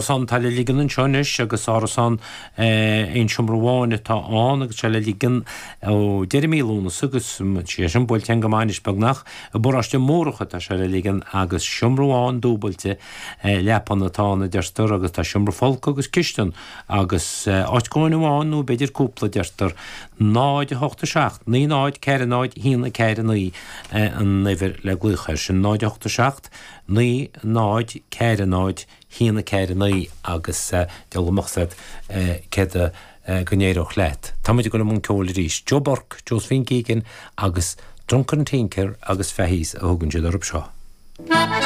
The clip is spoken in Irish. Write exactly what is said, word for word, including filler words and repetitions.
Árasán atá le ligean anseo anois agus árasán aon seomra amháin atá ann agus sé le ligean ó deireadh mí Lúnasa agus sé sin buailte go maith anois beagnach i bparóiste Mórdha atá sé le ligean agus seomra amháin dúbailte leapan atá ann a deirtear agus tá seomra folctha agus cistin agus áit cónaithe amháin nó b'fhéidir cúpla deirtear náid a hocht a seacht, naoi náid ceathair náid haon a ceathair naoi an uimhir le glaoch air sin náid a hocht a seacht, naoi náid ceathair náid haon a ceathair naoi agus dealmach céad go n-éireodh leat. Táimid ag dul i mbun ceoil arís. Joe Burke, Josephine Keegan agus Drunken Tinker agus Fahy's a thugann siad orthu seo.